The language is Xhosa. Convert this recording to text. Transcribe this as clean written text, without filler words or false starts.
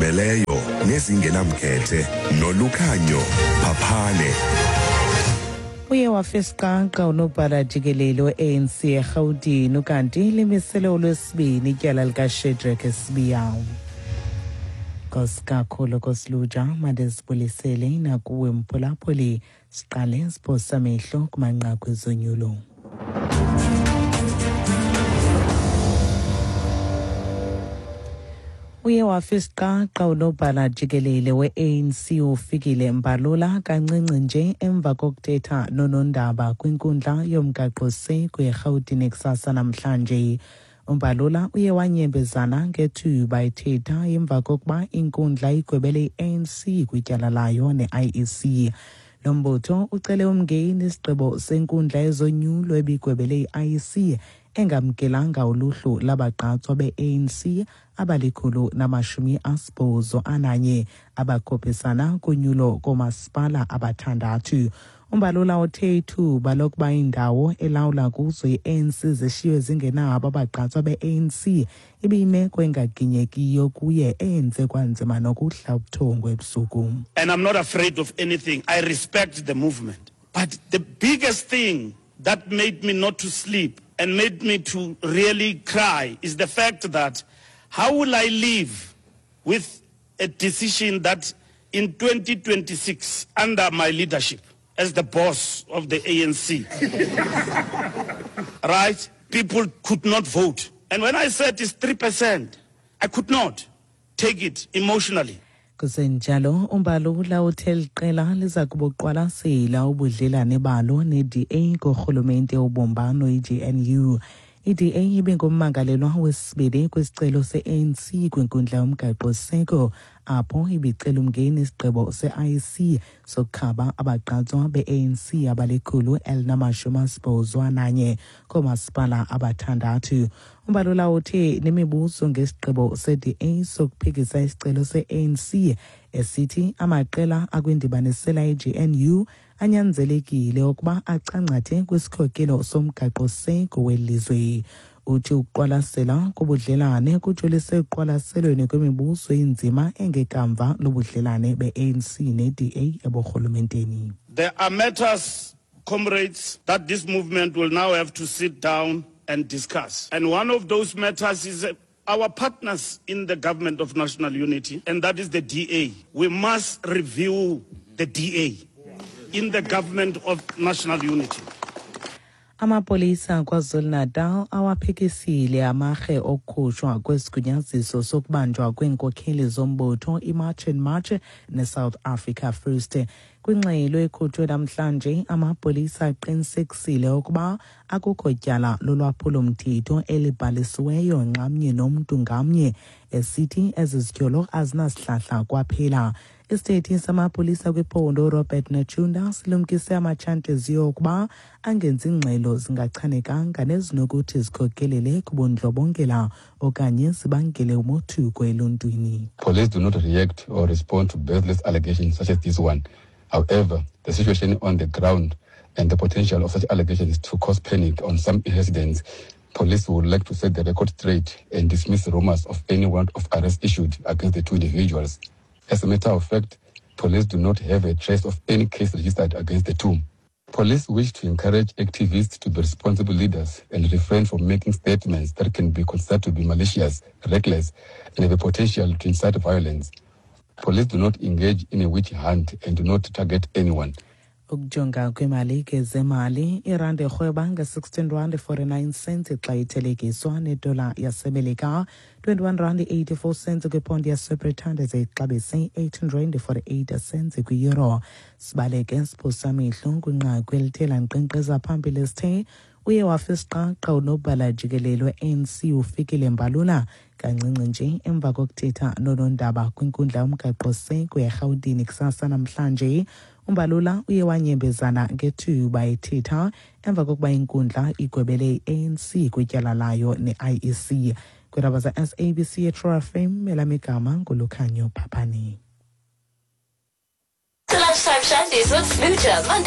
Ezizimeleyo nezingenamkhethe nolukhanyo phaphane. Uye wafisiqaqa unobhala jikelele we-ANC eRhawutini ukanti limisele olwesibini ityala likaShadrack Sibiya. Nkosi kakhulu kosiluja mandizibulisele nakuwe mphulaphuli siqale siphosa amehlo kumanqaku ezonyulo. Uye wafa isiqaqa unobhala jikelele we-ANC uFikile Mbalula kancinci nje emva kokuthetha nonondaba kwinkundla yomgaqo-seko eRhawutini kusasa namhlanje. UMbalula uye wanyembezana ngethuba ethetha emva kokuba inkundla igwebele i-ANC kwityala layo ne-IEC. Lo mbutho ucele umngeni isigqibo senkundla yezonyulo ebigwebele i-IEC engamkelanga uluhlu labagqatswa be-ANC abali-181 abakhuphisana kunyulo koomasipala abathandathu. UMbalula uthe ithuba lokuba indawo elawula kuzo i-ANC zishiywe zingenabo abagqatswa be-ANC ibiyimeko engaginyekiyo kuye eyenze kwanzima nokuhla ubuthongo ebusuku. And I'm not afraid of anything. I respect the movement. But the biggest thing that made me not to sleep and made me to really cry is the fact that how will I live with a decision that in 2026, under my leadership as the boss of the ANC, right, people could not vote. And when I said it's 3%, I could not take it emotionally. Kusenjalo uMbalula uthe eli qela liza kubuqwalasela ubudlelane balo ne-DA kurhulumente wobumbano i-GNU. I-DA ibingummangalelwa wesibini kwisicelo se-ANC kwinkundla yomgaqo-siseko apho ibicela umngeni isigqibo se-IEC sokukhaba abagqatswa be-ANC abali-181 koomasipala abathandathu. UMbalula uthe nemibuzo ngesigqibo se-DA sokuphikisa isicelo se-ANC esithi amaqela akwindibanisela i-GNU anyanzelekile ukuba acangcathe kwisikhokelo somgaqo-siseko welizwe. Uthi ukuqwalasela kobudlelane kujolise ekuqwalaselweni kwemibuzo enzima engekamva lobudlelane be-ANC ne-DA eburhulumenteni. There are matters, comrades, that this movement will now have to sit down and discuss. And one of those matters is our partners in the government of national unity, and that is the DA. We must review the DA in the government of national unity. Amapolisa KwaZulu-Natal awaphikisile amarhe okukhutshwa kwesigunyaziso sokubanjwa kweenkokheli zombutho iMarch and March neSouth Africa First. Kwingxelo ekhutshwe namhlanje, amapolisa aqinisekisile ukuba akukho tyala lolwaphulo-mthetho elibhalisiweyo nxamnye nomntu ngamnye, esithi ezi zityholo azinasihlahla kwaphela. Isithethi samapolisa kwiphondo uRobert Netshiunda silumkise amatshantliziyo ukuba angenzi ngxelo zingachanekanga nezinokuthi zikhokelele kubundlobongela okanye zibangele umothuko eluntwini. Police do not react or respond to baseless allegations such as this one. However, the situation on the ground and the potential of such allegations to cause panic on some residents, police would like to set the record straight and dismiss rumors of any warrant of arrest issued against the two individuals. As a matter of fact, police do not have a trace of any case registered against the two. Police wish to encourage activists to be responsible leaders and refrain from making statements that can be considered to be malicious, reckless, and have a potential to incite violence. Police do not engage in a witch hunt and do not target anyone. Ukujonga kwimali ke zemali, irandi irhweba nge-16 rand 49 cents xa ithelekiswa nedola yaseMelika, 21 rand 84 cents kwiponti yaseBritane, ze ixabise 18 rand 48 cents kwi-euro. Sibaleke siphosa amehlo kwinqaku elithe lankqenkqeza phambili esithe uye wafa isiqaqa unobhala jikelele we-ANC uFikile Mbalula kancinci nje emva kokuthetha nonondaba kwinkundla yomgaqo-siseko eRhawutini kusasa namhlanje. UMbalula uye wanyembezana ngethuba ethetha emva kokuba inkundla igwebele i-ANC kwityala layo ne-IEC. Kwiindaba za-SABC eTrue FM, elam igama nguLukhanyo Phaphani. The Lunchtime Shandies with Smoocher, Monday.